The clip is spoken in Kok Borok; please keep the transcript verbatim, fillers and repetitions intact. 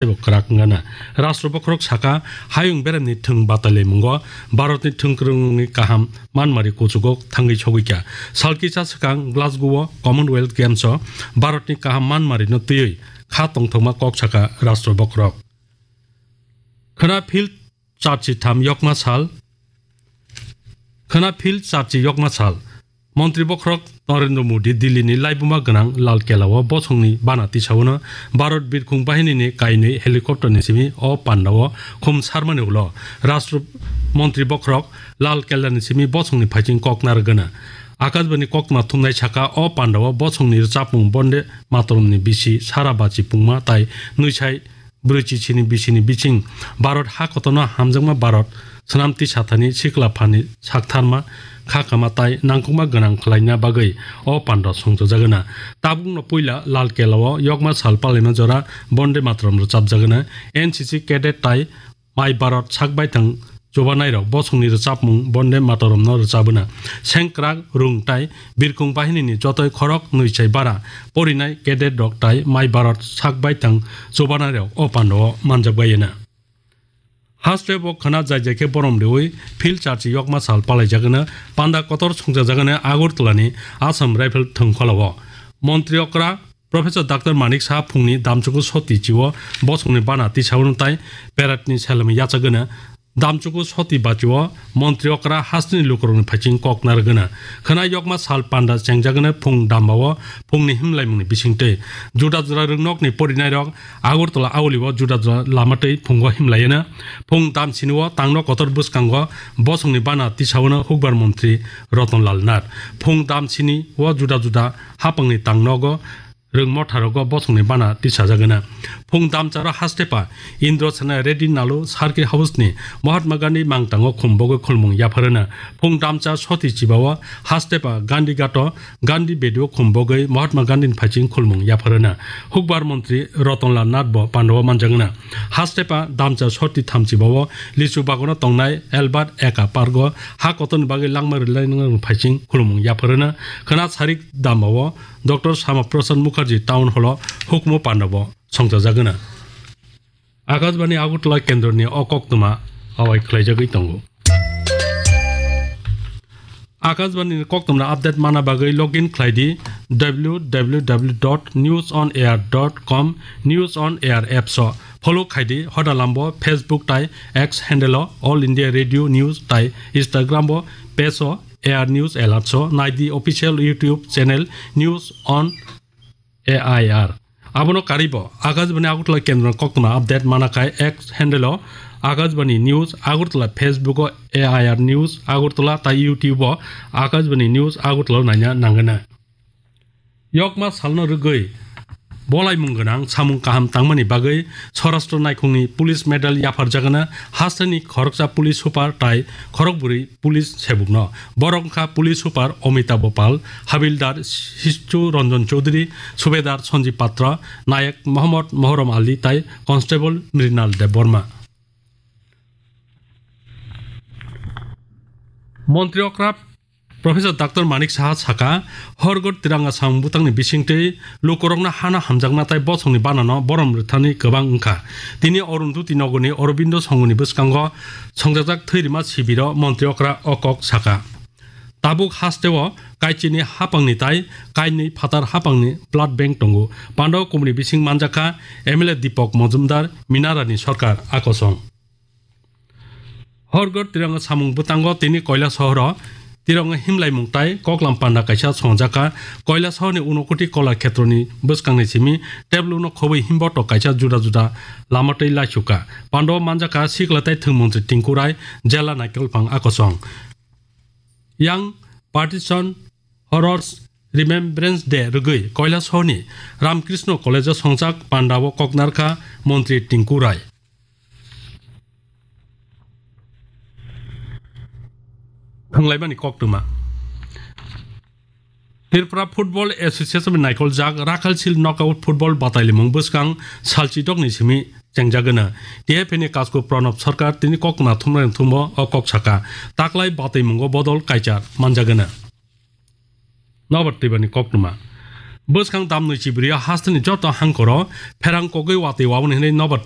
teibo kwrak wngana. Rashtra bokhorok saka, hayung beremni thwng batalaimungo Bharatni thwngkwrwngni kaham manmari kuchugo thangwi sogwikha. Salkisa swkang Glasgow-o Commonwealth Games-o Bharatni kaham manmarino twiwi kha tongthokma kok saka Rashtra bokhorok. Khwna phil charchi tham yokma sal, khwna phil charchi yokma sal. Montri bokhorok Narendra Modi Delhi ni laibuma gwnang Lal Kela o bosongni bana tisawano Bharat birkhung bahini ni kainwi helicopter ni simi o panda o khum sarmani ulo Rashtra Montri bokhorok Lal Kela ni simi bosongni phaiching kok narwgana. Akashbani koktwma thumnai saka o panda o bosongni rwchapmung Bonde Mataram ni bisi sara bachi pungma tai nwisai brwichi sini bisini biching Bharat ha kotorno hamjakma Bharat swnam tisa thani sikla phani saktharma kha kama tai nangkukma gwnang khlaina bagwi o panda songchajagana. Tabukno puila Lal Kela o yokma sal palaima jora Bonde Mataram rwchapjagana. N C C cadet tai Mai Bharat sak baithang chubanairok bosongni rwchapmung Bonde Mataramno rwchabwna. Sengkrak, rung tai birkhung bahinini jotoi khorok nwi chai bara porinai cadet rok tai Mai Bharat sak baithang chubanairok o panda o manjakbaiyena. Haste bo khwna jai jai khe borom riwi phil charchi yokma sal palaijagwna panda kotor songchajagwna Agartala ni Assam Rifle thwngkhwla o. Montri okra Professor Doctor Manik Saha phungni damchuku soti chio bosongni bana tisawano tai peratni selemi yachagwna. Damchuku soti bachio montri okra hasteni lukurokni phaiching kok narwgwna. Khwna yokma sal panda chengjagwna phung dambao phungni himlaimungni bisingtwi. Juda juda rwngnokni porinairok Agartala aulio juda juda lama twi phungo himlaiyana. Phung damsinio tangno kotor bwskango bosongni bana tisawano hukbar montri Ratan Lal Nath. Phung damsinio juda juda hapangni tangnogo rwngmotharogo bosongni bana tisajagwna. Phung damcharo hastepa Indra Sena Reddy Nalu Circuit House ni Mahatma Gandhi mangtango khumbogwi khulmung yapharwna. Phung damcha soti chibao hastepa Gandhi Ghato Gandhi Bedio khumbogwi Mahatma Gandhi ni phaiching khulmung yapharwna. Hukbar montri Ratan Lal Nath bo pandao manjagwna. Hastepa damcha soti thamchibao Lichu Bagano tongnai Albert Eka Park o ha kotorni bagwi langma rwlainani phaiching khulmung yapharwna. Khwna sarik dambao Doctor Sama Prasad Mukherjee Town Hall o hukumu pandabo songchajagwna. Akashbani Agartala kendroni o koktwma awai khlaijagwi tongo. Akashbani ni koktwmani update mana bagwi login khlai di w w w dot news on air dot com, News on Air apps o. Follow khai di hoda lambo Facebook tai X handle o All India Radio News tai Instagram o page o A R News Alerts o nai di official YouTube channel News on A I R. Abono karwi bo Akashbani Agartala kendro koktwma update mana khai X handle o Akashbani News Agartala, Facebook o A I R News Agartala tai YouTube o Akashbani News Agartala naina nangana. Yokma salno rwgwi bolaimung gwnang samung kaham tangmani bagwi Swarashtra naikhungni Police Medal yapharjagana hasteni khoroksa police super tai khorokbwrwi police sebukno. Borok wngkha police super Amitabh Pal, habildar Sistu Ranjan Chaudhary, subedar Sanjib Patra, nayek Mohammad Mohrom Ali tai constable Mrinal Debbarma. Montri okra Professor Doctor Manik Saha saka, Har Ghar Tiranga samung bwtangni bisingtwi lukurokno hano hamjakma tai bosongni banano borom rwthani kwbang wngkha. Tini Arundhati Nagarni Aurobindo Songoni bwskango songjajak thwirima sibiro montri okra o kok saka. Tabuk hasteo kaichini hapangni tai kainwi phatar hapangni blood bank tongo. Pandao kumni bising manjakha M L A Deepak Majumdar, Minarani Sarkar akosong. Har Ghar Tiranga samung bwtango tini Koilasohoro Tiranga himlaimung tai koklam panda kaisa songjakha. Koilasohorni Unokoti Kola Khetroni bwskangni simi tebluno khobwi himboto kaisa juda juda lama twi laisukha. Pandao manjakha sikla tai thwng montri Tinku Rai, jela naikolphang akosong. Yang Partition Horrors Remembrance Day rwgwi Koilasohorni Ramkrishna College o songjak pandao koknarkha montri Tinku Rai. Thwnglaimani koktwma. Tripura Football Association ni naikoljak Rakhalsil Knockout Football batailimung bwskang salchidokni simi chengjagwna. T F A ni Kasku Pranab Sarkar tini koktwma thumnairok thumbo o kok saka. Taklai bataimungo bodol kaichar manjagwna. Nobar twibani koktwma. Bwskang tamnwi chibri o hasteni joto hangkoro pherang kogwi watwi waboni hwnwi nobar